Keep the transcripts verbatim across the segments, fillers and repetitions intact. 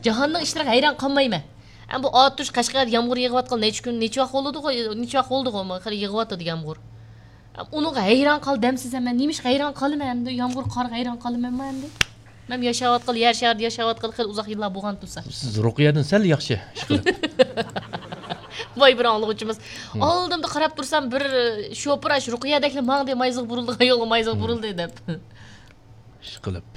جاھاننىڭ ئىشلىرىغا ھەيران قالمايمەن. ئەمما بۇ ئاتۇش قەشقەردە يامغۇر يېغىۋاتقىلى نەچچە كۈن، نەچچە ۋاق بولىدىغۇ، نەچچە ۋاق بولدىغۇ، خېلى يېغىۋاتىدۇ يامغۇر. ئۇنىڭغا ھەيران قالدىمسىز ھەم؟ مەن نېمىشقا ھەيران قالىمەن ئەمدى؟ يامغۇر، قارغا ھەيران قالىمەنمۇ ئەمدى؟ مەن ياشاۋاتقىلى، يەر شارىدا ياشاۋاتقىلى خېلى ئۇزاق يىللار بولغان تۇرسا. سىز رۇقىيەدىن سەل ياخشى ئىشقىلىپ. ۋاي بىر ئاڭلىغۇچىمىز. ھىم. ئالدىمدا قاراپ تۇرسام، بىر شوپۇر ئاش رۇقىيەدەكلا ماڭدى، مايزىغا بۇرۇلىدىغان يولغا مايزىغا بۇرۇلدى دەپ. ئىشقىلىپ.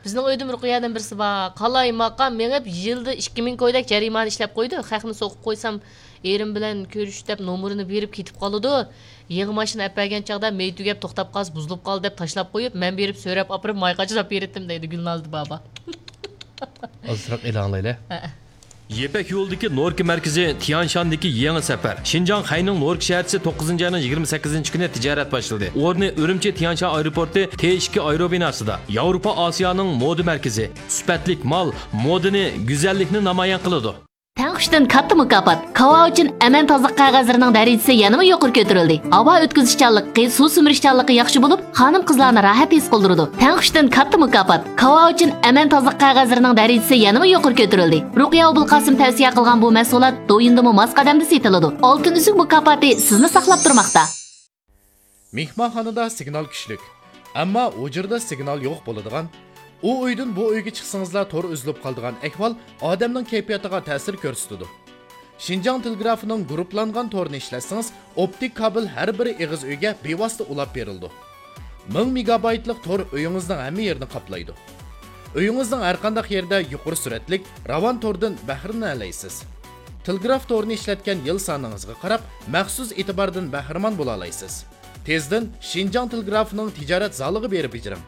بىزنىڭ ئۆيدىمۇ رۇقىيەدىن بىرسى بار. قالايماقان مېڭىپ، يىلدا ئىككى مىڭ كويدەك جەرىمانە ئىشلەپ قويىدۇ. خەقنى سوقۇپ قويسام، ئېرىم بىلەن كۆرۈش دەپ نومۇرىنى بېرىپ كېتىپ قالىدۇ. يېڭى ماشىنا ئەپ بەرگەن چاغدا مەي تۈگەپ توختاپ قالسا، بۇزۇلۇپ قالدى دەپ تاشلاپ قويۇپ، مەن بېرىپ سۆرەپ ئاپىرىپ ماي قاچىلاپ بېرىتتىم دەيدۇ گۈلنازدى بابا. ئازراق ئېلىڭلايلى. ھە. يىپەك يولىدىكى نوركا مەركىزى تيانشاندىكى يېڭى سەپەر. شىنجاڭ خەينىڭ نوركا شەھەرچىسى توققۇزىنچى ئاينىڭ يىگىرمە سەككىزىنچى كۈنى تىجارەت باشلىدى. ئورنى ئۈرۈمچى تيانشان ئايروپورتى تې ئىككى ئايروبىناسىدا. ياۋروپا ئاسىيانىڭ مودا مەركىزى. سۈپەتلىك مال، مودىنى، گۈزەللىكنى نامايان قىلىدۇ. تەڭ ئۈچتىن كاتتا مۇكاپات. كاۋاۋىچىن ئەمەن تازىلىق قەغەزلىرىنىڭ دەرىجىسى يەنىمۇ يۇقىرى كۆتۈرۈلدى. ھاۋا ئۆتكۈزۈشچانلىقى، سۇ سۈمۈرۈشچانلىقى ياخشى بولۇپ، خانىم-قىزلارنى راھەت ھېس قىلدۇرىدۇ. تەڭ ئۈچتىن كاتتا مۇكاپات. كاۋاۋىچىن ئەمەن تازىلىق قەغەزلىرىنىڭ دەرىجىسى يەنىمۇ يۇقىرى كۆتۈرۈلدى. رۇقىيە ئوبۇلقاسىم تەۋسىيە قىلغان بۇ مەھسۇلات دويىندىمۇ ماس قەدەمدە سېتىلىدۇ. ئالتۇن ئۈزۈك مۇكاپاتى سىزنى ساقلاپ تۇرماقتا. مېھمانخانىدا سىگنال كۈچلۈك، ئەمما ھۇجرىدا سىگنال يوق بولىدىغان، ئۇ ئۆيدىن بۇ ئۆيگە چىقسىڭىزلا تور ئۈزۈلۈپ قالىدىغان ئەھۋال ئادەمنىڭ كەيپىياتىغا تەسىر كۆرسىتىدۇ. شىنجاڭ تېلېگرافىنىڭ گۇرۇپپىلانغان تورىنى ئىشلەتسىڭىز، ئوپتىك كابېل ھەر بىر ئېغىز ئۆيگە بىۋاسىتە ئۇلاپ بېرىلىدۇ. مىڭ مېگابايتلىق تور ئۆيىڭىزنىڭ ھەممە يېرىنى قاپلايدۇ. ئۆيىڭىزنىڭ ھەرقانداق يېرىدە يۇقىرى سۈرئەتلىك، راۋان توردىن بەھرىلىنەلەيسىز. تېلېگراف تورىنى ئىشلەتكەن يىل سانىڭىزغا قاراپ، مەخسۇس ئېتىباردىن بەھرىمەن بولالايسىز. تېزدىن شىنجاڭ تېلېگرافىنىڭ تىجارەت زالىغا بېرىپ بېجىرىڭ.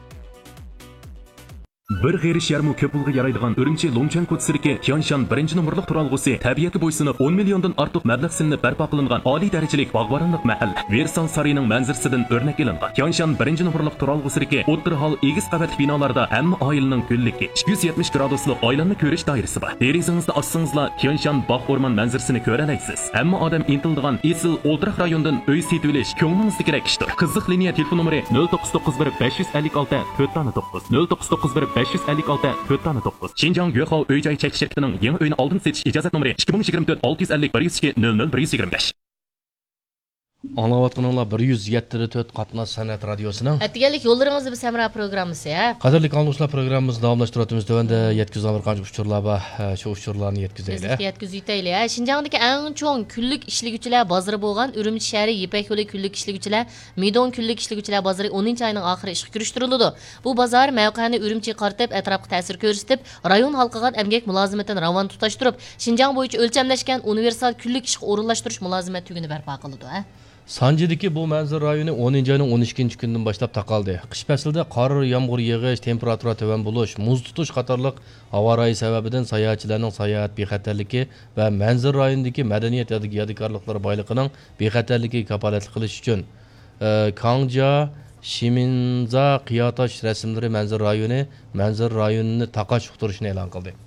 بىر غېرىش يەرمۇ كۆپ پۇلغا يارايدىغان ئۈرۈمچى لۇڭچەن كوچىسىدىكى تيانشان بىرىنچى نومۇرلۇق تۇرالغۇسى تەبىئەتكە بويسۇنۇپ، ئون مىليوندىن ئارتۇق مەبلەغ سېلىنىپ بەرپا قىلىنغان ئالىي دەرىجىلىك باغۋەنلىك مەھەل. ۋېرسال سارىيىنىڭ مەنزىرىسىدىن ئۆرنەك ئېلىنغان. تيانشان بىرىنچى نومۇرلۇق تۇرالغۇسىدىكى ئوتتۇرا ھال ئېگىز قەۋەتلىك بىنالاردا ھەممە ئائىلىنىڭ گۈللۈكى، ئىككى يۈز يەتمىش گرادۇسلۇق ئايلانما كۆرۈش دائىرىسى بار. دېرىزىڭىزدە ئاچسىڭىزلا تيانشان باغ ئورمان مەنزىرىسىنى كۆرەلەيسىز. ھەممە ئادەم ئىنتىلىدىغان ئېسىل ئولتۇراق رايونىدىن ئۆي سېتىۋېلىش كۆڭلىڭىزدىكىدەك ئىشتۇر. قىزىق لىنىيە تېلېفون نومۇرى نۆل توققۇز توققۇز بىر بەش يۈز ئەللىك ئالتە تۆت دانە توققۇز، نۆل توققۇز توققۇز بىر بەش يۈز ئەللىك ئالتە تۆت دانە توققۇز. شىنجاڭ يۆخاۋ ئۆي جاي چەكلىك شىركىتىنىڭ يېڭى ئۆينى ئالدىن سېتىش ئىجازەت نومۇرى ئىككى مىڭ يىگىرمە تۆت ئالتە يۈز ئەللىك بىر يۈز ئىككى نۆل نۆل بىر يۈز يىگىرمە بەش. ئاڭلاۋاتقىنىڭلار بىر يۈز يەتتە تۆت قاتناش سەنئەت رادىيوسىنىڭ. ئەتىگەنلىك يوللىرىڭىزدا بىز ھەمراھ پروگراممىسى، ھە؟ قەدىرلىك ئاڭلىغۇچىلار، پروگراممىمىزنى داۋاملاشتۇرۇۋاتىمىز. تۆۋەندە يەتكۈزىدىغان بىر قانچە ئۇچۇرلار بار. ھە، شۇ ئۇچۇرلارنى يەتكۈزەيلى، ھە؟ تېزلىكتە يەتكۈزۈۋېتەيلى، ھە؟ شىنجاڭدىكى ئەڭ چوڭ كۈنلۈك ئىشلىگۈچىلەر بازىرى بولغان ئۈرۈمچى شەھىرى يىپەك يولى كۈنلۈك ئىشلىگۈچىلەر، مىدوڭ كۈنلۈك ئىشلىگۈچىلەر بازىرى ئونىنچى ئاينىڭ ئاخىرى ئىشقا كىرىشتۈرۈلىدۇ. بۇ بازار مەۋقەنى ئۈرۈمچىگە قارىتىپ، ئەتراپقا تەسىر كۆرسىتىپ، رايون ھالقىغان ئەمگەك مۇلازىمىتىنى راۋان تۇتاشتۇرۇپ، شىنجاڭ بويىچە ئۆلچەملەشكەن ئۇنىۋېرسال كۈنلۈك ئىشقا ئورۇنلاشتۇرۇش مۇلازىمەت تۈگۈنى بەرپا قىلىدۇ، ھە؟ سانجىدىكى بۇ مەنزىرە رايونى ئونىنچى ئاينىڭ ئون ئىككىنچى كۈنىدىن باشلاپ تاقالدى. قىش پەسلىدە قار، يامغۇر يېغىش، تېمپېراتۇرا تۆۋەن بولۇش، مۇز تۇتۇش قاتارلىق ھاۋا رايى سەۋەبىدىن ساياھەتچىلەرنىڭ ساياھەت بىخەتەرلىكى ۋە مەنزىرە رايونىدىكى مەدەنىيەت يادىكارلىقلىرى بايلىقىنىڭ بىخەتەرلىكىگە كاپالەتلىك قىلىش ئۈچۈن، ئى، كاڭجيا شىمىنزا قىياتاش رەسىملىرى مەنزىرە رايونى مەنزىرە رايونىنى تاقاش ئۇقتۇرۇشىنى ئېلان قىلدى.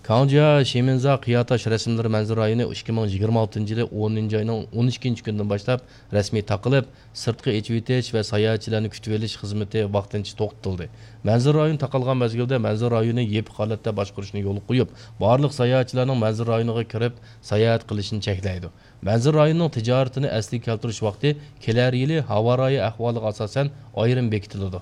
كاڭجيا شىمىنزا قىياتاش رەسىملىرى مەنزىرە رايونى ئىككى مىڭ يىگىرمە ئالتىنچى يىلى ئونىنچى ئاينىڭ ئون ئىككىنچى كۈنىدىن باشلاپ رەسمىي تاقىلىپ، سىرتقا ئېچىۋېتىش ۋە ساياھەتچىلەرنى كۈتۈۋېلىش خىزمىتى ۋاقتىنچە توختىتىلدى. مەنزىرە رايونى تاقالغان مەزگىلدە مەنزىرە رايونى يېپىق ھالەتتە باشقۇرۇشنى يولغا قويۇپ، بارلىق ساياھەتچىلەرنىڭ مەنزىرە رايونىغا كىرىپ ساياھەت قىلىشىنى چەكلەيدۇ. مەنزىرە رايونىنىڭ تىجارىتىنى ئەسلىگە كەلتۈرۈش ۋاقتى كېلەر يىلى ھاۋا رايى ئەھۋالىغا ئاساسەن ئايرىم بېكىتىلىدۇ.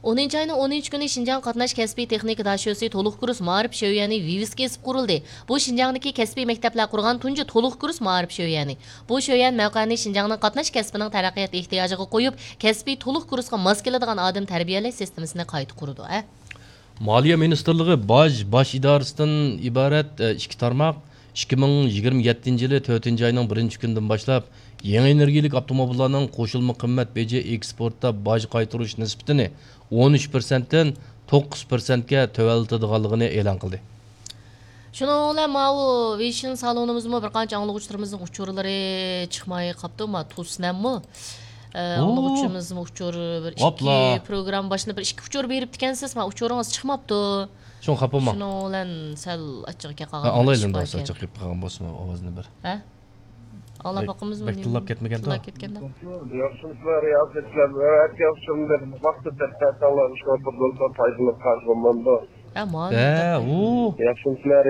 ئونىنچى ئاينىڭ ئونىنچى كۈنى شىنجاڭ قاتناش كەسپىي تېخنىكا داشۆسى تولۇق كۇرس مائارىپ شۆيۈەنى ۋىۋىسكا ئېسىپ قۇرۇلدى. بۇ شىنجاڭدىكى كەسپىي مەكتەپلەر قۇرغان تۇنجى تولۇق كۇرس مائارىپ شۆيۈەنى. بۇ شۆيۈەن مەۋقەنى شىنجاڭنىڭ قاتناش كەسپىنىڭ تەرەققىيات ئېھتىياجىغا قويۇپ، كەسپىي تولۇق كۇرسقا ماس كېلىدىغان ئادەم تەربىيەلەش سىستېمىسىنى قايتا قۇرىدۇ، ھە. مالىيە مىنىستىرلىقى باج، باش ئىدارىسىدىن ئىبارەت، ئە، ئىككى تارماق ئىككى مىڭ يىگىرمە يەتتىنچى يىلى تۆتىنچى ئاينىڭ بىرىنچى كۈنىدىن باشلاپ يېڭى ئېنېرگىيەلىك ئاپتوموبىللارنىڭ قوشۇلما قىممەت بېجى ئېكسپورتتا باج قايتۇرۇش نىسبىتىنى ئون ئۈچ پىرسەنتتىن توققۇز پىرسەنتكە تۆۋەنلىتىدىغانلىقىنى ئېلان قىلدى. شۇنىڭ بىلەن ماۋۇ ۋېيشىن سالونىمىزمۇ بىر قانچە ئاڭلىغۇچىلىرىمىزنىڭ ئۇچۇرلىرى چىقماي قاپتۇ. ما توسنەممۇ، ئە، ئوو. ئاڭلىغۇچىمىزمۇ ئۇچۇر بىر ئىككى ھوپلا. پروگرامما باشلىنىپ بىر ئىككى ئۇچۇر بېرىپتىكەنسىز، ما ئۇچۇرىڭىز چىقماپتۇ. شۇڭا خاپا بولماڭ. شۇنىڭ بىلەن سەل ئاچچىقى كەلگەن ھە، ئاڭلايلى ئىش ئەمدى بار ئاز ئىكەن. ئاچچىق كېلىپ قالغان بولسىمۇ ئاۋازىنى بىر. ھە؟ ئاڭلاپ بەك، باقىمىزمۇ بەك نېمە؟ تىللاپ كەتمىگەندۇ؟ تىللاپ كەتكەندۇ؟ ياخشىمۇسىلەر، رىياسەتچىلەر؟ ئەتىياخشامدىن ۋاقىت تەپتەتەڭلار شۇ بولسا پايدىلىق قارىغانماندۇ. ھە، مانا. ھە، ئۇ. ياخشىمۇسىلەر؟